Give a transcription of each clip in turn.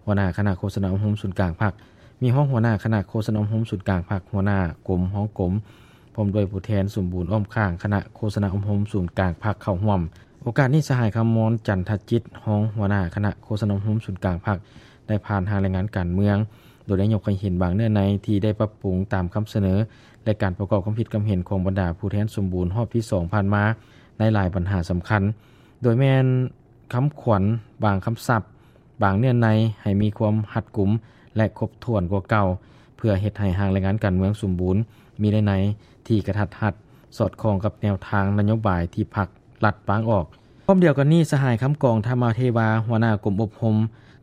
ຫົວໜ້າຄະນະໂຄສະນາອົບຮົມສູນກາງພັກ, ມີຮອງຫົວໜ້າຄະນະໂຄສະນາອົບຮົມສູນກາງພັກ, ຫົວໜ້າກົມ, ຮອງກົມ, ພ້ອມດ້ວຍຜູ້ແທນສົມບູນອ້ອມຂ້າງຄະນະໂຄສະນາອົບຮົມສູນກາງພັກເຂົ້າຮ່ວມ. ໂອກາດນີ້ ສະຫາຍ ຄຳມອນ ຈັນທະຈິດ, ຮອງຫົວໜ້າຄະນະໂຄສະນາອົບຮົມສູນກາງພັກ ໄດ້ຜ່ານຮ່າງລາຍງານການເມືອງ, ໂດຍໄດ້ຍົກໃຫ້ເຫັນບາງເນື້ອໃນທີ່ໄດ້ປັບປຸງຕາມຄຳສະເໜີ ແລະ ການປະກອບຄວາມຄິດຄຳເຫັນຂອງບັນດາຜູ້ແທນສົມບູນຮອບທີສອງຜ່ານມາ ໃນຫຼາຍບັນຫາສຳຄັນ, ໂດຍແມ່ນຄຳຂວັນ, ບາງຄຳສັບ, ບາງເນື້ອໃນໃຫ້ມີຄວາມຮັດກຸມ ແລະ ຄົບຖ້ວນກວ່າເກົ່າ, ເພື່ອເຮັດໃຫ້ຮ່າງລາຍງານການເມືອງສົມບູນ, ມີເນື້ອໃນທີ່ກະທັດຮັດ, ສອດຄ່ອງກັບແນວທາງນະໂຍບາຍທີ່ພັກລັດວາງອອກ. ພ້ອມດຽວກັນນີ້, ສະຫາຍ ຄຳກອງ ທຳມະເທວາ, ຫົວໜ້າກົມອົບຮົມ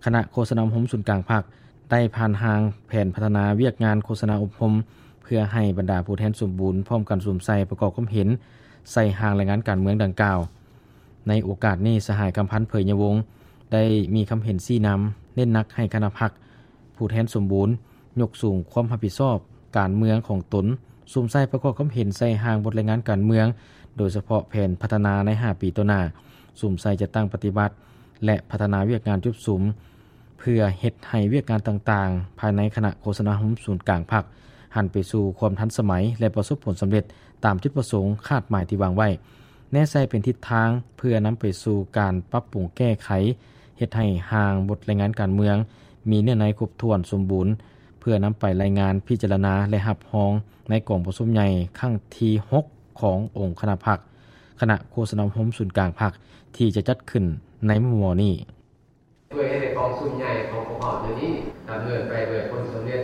ຄະນະໂຄສະນາອົບຮົມສູນກາງພັກ ໄດ້ຜ່ານຮ່າງແຜນພັດທະນາວຽກງານໂຄສະນາອົບຮົມ ເພື່ອໃຫ້ບັນດາຜູ້ແທນສົມບູນພ້ອມກັນສຸມໃສ່ປະກອບຄວາມເຫັນໃສ່ຮ່າງລາຍງານການເມືອງດັ່ງກ່າວ. ໃນໂອກາດນີ້, ສະຫາຍ ຄຳພັນ ເຜີຍຍະວົງ ໄດ້ມີຄຳເຫັນຊີ້ນຳ, ເນັ້ນໜັກໃຫ້ຄະນະພັກ ຜູ້ແທນສົມບູນ ຍົກສູງຄວາມຮັບຜິດຊອບການເມືອງຂອງຕົນ, ສຸມໃສ່ປະກອບຄຳເຫັນໃສ່ຮ່າງບົດລາຍງານການເມືອງ, ໂດຍສະເພາະແຜນພັດທະນາໃນຫ້າປີຕໍ່ໜ້າ, ສຸມໃສ່ຈັດຕັ້ງປະຕິບັດ ແລະ ພັດທະນາວຽກງານຈຸດສຸມ, ເພື່ອເຮັດໃຫ້ວຽກງານຕ່າງໆ ພາຍໃນຄະນະໂຄສະນາອົບຮົມສູນກາງພັກ ຫັນໄປສູ່ຄວາມທັນສະໄໝ ແລະ ປະສົບຜົນສຳເລັດຕາມຈຸດປະສົງຄາດໝາຍທີ່ວາງໄວ້. ແນໃສ່ເປັນທິດທາງເພື່ອນຳໄປສູ່ການປັບປຸງແກ້ໄຂ, ເຮັດໃຫ້ຮ່າງບົດລາຍງານການເມືອງມີເນື້ອໃນຄົບຖ້ວນສົມບູນ, ເພື່ອນຳໄປລາຍງານ, ພິຈາລະນາ ແລະ ຮັບຮອງໃນກອງປະຊຸມໃຫຍ່ຄັ້ງທີຫົກຂອງອົງຄະນະພັກ, ຄະນະໂຄສະນາອົບຮົມສູນກາງພັກ ທີ່ຈະຈັດຂຶ້ນໃນມໍ່ໆນີ້. ເພື່ອເຮັດໃຫ້ກອງປະຊຸມໃຫຍ່ຂອງພວກເຮົາເທື່ອນີ້ດຳເນີນໄປດ້ວຍຜົນສຳເລັດ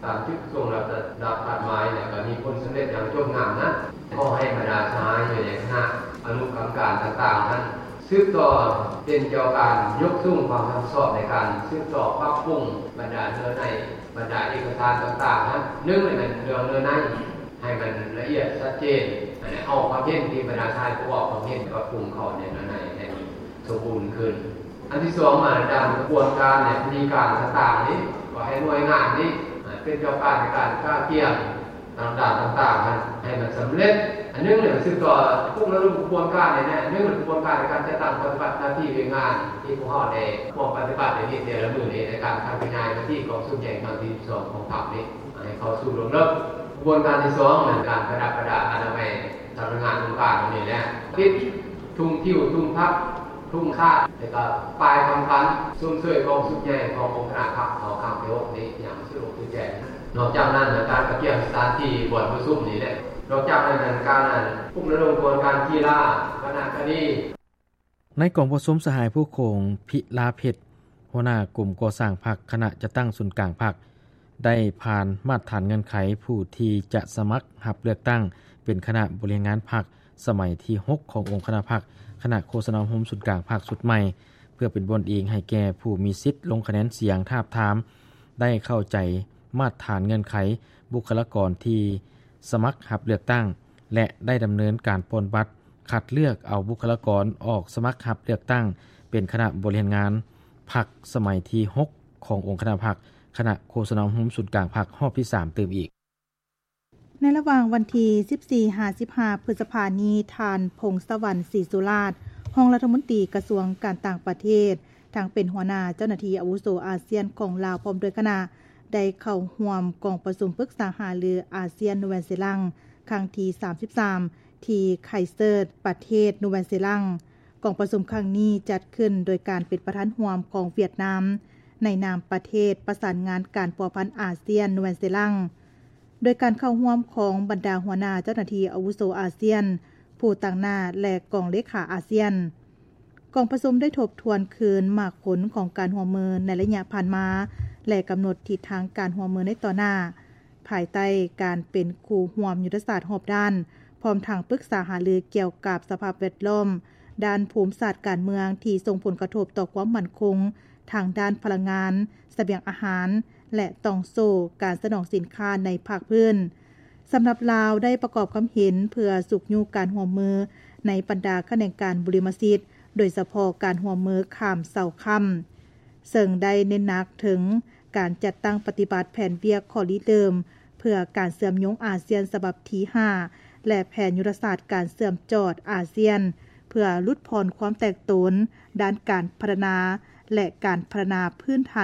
ຕາມຈຸດປະສົງ ແລະ ຕາມຄາດໝາຍ ແລະ ກໍມີຜົນສຳເລັດຢ່າງຈົບງາມນະ. ຂໍໃຫ້ບັນດາສະຫາຍຢູ່ໃນຄະນະອະນຸກຳມະການຕ່າງໆນັ້ນ ສືບຕໍ່ເປັນເຈົ້າການຍົກສູງຄວາມຮັບຜິດຊອບໃນການສືບຕໍ່ປັບປຸງບັນດາເນື້ອໃນ, ບັນດາເອກະສານຕ່າງໆນັ້ນ. ໜຶ່ງ ແມ່ນເລື່ອງເນື້ອໃນ ໃຫ້ມັນລະອຽດຊັດເຈນ, ແລະ ເອົາຄວາມເຫັນທີ່ບັນດາສະຫາຍຜູ້ອອກຄວາມເຫັນປັບປຸງເຂົ້າໃນເນື້ອໃນໃຫ້ມັນສົມບູນຂຶ້ນ. ອັນທີສອງ ມາດາມຂະບວນການ ແລະ ວິທີການຕ່າງໆນີ້ ກໍໃຫ້ໜ່ວຍງານນີ້ ເປັນເຈົ້າການໃນການກະກຽມຕ່າງໆຕ່າງໆນັ້ນ ໃຫ້ມັນສຳເລັດ. ອັນໜຶ່ງ ແມ່ນສືບຕໍ່ປຸກລະດົມຂະບວນການນີ້ແຫຼະ. ອັນໜຶ່ງ ແມ່ນຂະບວນການໃນການຈັດຕັ້ງປະຕິບັດໜ້າທີ່ວຽກງານທີ່ພວກເຮົາໄດ້ຮ່ວມປະຕິບັດໃນນີ້ແຕ່ລະມື້ນີ້ ໃນການຂະຫຍາຍມະຕິກອງປະຊຸມໃຫຍ່ຄັ້ງທີສິບສອງຂອງພັກນີ້ ໃຫ້ເຂົ້າສູ່ລວງເລິກ. ຂະບວນການທີສອງ ແມ່ນການປະດັບປະດາອະນາໄມສຳນັກງານອົງການນີ້ແຫຼະ ຕິດທຸງທິວ, ທຸງພັກ, ທຸງຊາດ ແລະ ກໍປ້າຍຄຳຂວັນຊົມເຊີຍກອງປະຊຸມໃຫຍ່ຂອງອົງຄະນະພັກເຮົາຄັ້ງທີຫົກນີ້ຢ່າງສະດວກສະດວກ. ນອກຈາກນັ້ນ ການກະກຽມສະຖານທີ່ບ່ອນປະຊຸມນີ້ແຫຼະ. ນອກຈາກນັ້ນ ການປຸກລະດົມຂະບວນການກິລາ, ວັນນະຄະດີ. ໃນກອງປະຊຸມ, ສະຫາຍ ຜູ້ຄົງ ພິລາເພັດ, ຫົວໜ້າກົມກໍ່ສ້າງພັກ, ຄະນະຈັດຕັ້ງສູນກາງພັກ ໄດ້ຜ່ານມາດຖານເງື່ອນໄຂຜູ້ທີ່ຈະສະໝັກຮັບເລືອກຕັ້ງເປັນຄະນະບໍລິຫານງານພັກສະໄໝທີຫົກຂອງອົງຄະນະພັກ, ຄະນະໂຄສະນາອົບຮົມສູນກາງພັກຊຸດໃໝ່ ເພື່ອເປັນບ່ອນອີງໃຫ້ແກ່ຜູ້ມີສິດລົງຄະແນນສຽງທາບທາມ ໄດ້ເຂົ້າໃຈມາດຖານເງື່ອນໄຂບຸກຄະລາກອນທີ່ສະໝັກຮັບເລືອກຕັ້ງ ແລະ ໄດ້ດຳເນີນການປ່ອນບັດຄັດເລືອກເອົາບຸກຄະລາກອນອອກສະໝັກຮັບເລືອກຕັ້ງເປັນຄະນະບໍລິຫານງານພັກສະໄໝທີຫົກຂອງອົງຄະນະພັກ, ຄະນະໂຄສະນາອົບຮົມສູນກາງພັກຮອບທີສາມຕື່ມອີກ. ໃນລະຫວ່າງວັນທີສິບສີ່ຫາສິບຫ້າ ພຶດສະພານີ້, ທ່ານ ພົງສະຫວັນ ສີສຸລາດ, ຮອງລັດຖະມົນຕີກະຊວງການຕ່າງປະເທດ, ທັງເປັນຫົວໜ້າເຈົ້າໜ້າທີ່ອາວຸໂສອາຊຽນຂອງລາວ ພ້ອມດ້ວຍຄະນະ ໄດ້ເຂົ້າຮ່ວມກອງປະຊຸມປຶກສາຫາລືອາຊຽນ ນູແວນເຊລັງ ຄັ້ງທີສາມສິບສາມ ທີ່ໄຄເຊີ ປະເທດນູແວນເຊລັງ. ກອງປະຊຸມຄັ້ງນີ້ຈັດຂຶ້ນໂດຍການເປັນປະທານຮ່ວມຂອງຫວຽດນາມ ໃນນາມປະເທດປະສານງານການພົວພັນອາຊຽນ ນູແວນເຊລັງ, ໂດຍການເຂົ້າຮ່ວມຂອງບັນດາຫົວໜ້າເຈົ້າໜ້າທີ່ອາວຸໂສອາຊຽນ ຜູ້ຕາງໜ້າ ແລະ ກອງເລຂາອາຊຽນ. ກອງປະຊຸມໄດ້ທົບທວນຄືນໝາກຜົນຂອງການຮ່ວມມືໃນໄລຍະຜ່ານມາ ແລະ ກຳນົດທິດທາງການຮ່ວມມືໃນຕໍ່ໜ້າ, ພາຍໃຕ້ການເປັນຄູ່ຮ່ວມຍຸດທະສາດຮອບດ້ານ, ພ້ອມທັງປຶກສາຫາລືກ່ຽວກັບສະພາບແວດລ້ອມ, ດ້ານພູມສາດການເມືອງທີ່ສົ່ງຜົນກະທົບຕໍ່ຄວາມໝັ້ນຄົງທາງດ້ານພະລັງງານ, ສະບຽງອາຫານ ແລະ ຕ່ອງໂສ້ການສະໜອງສິນຄ້າໃນພາກພື້ນ. ສຳລັບລາວໄດ້ປະກອບຄຳເຫັນເພື່ອຊຸກຍູ້ການຮ່ວມມືໃນບັນດາຂະແໜງການບຸລິມະສິດ, ໂດຍສະເພາະການຮ່ວມມືຂ້າມເສົາຄ້ຳ, ເຊິ່ງໄດ້ເນັ້ນໜັກເຖິງການຈັດຕັ້ງປະຕິບັດແຜນວຽກຂໍ້ລິເລີ່ມເພື່ອການເຊື່ອມໂຍງອາຊຽນສະບັບທີຫ້າ ແລະ ແຜນຍຸດທະສາດການເຊື່ອມຈອດອາຊຽນ ເພື່ອຫຼຸດຜ່ອນຄວາມແຕກໂຕນດ້ານການພັດທະນາ ແລະ ການພັດທະນາພື້ນຖານ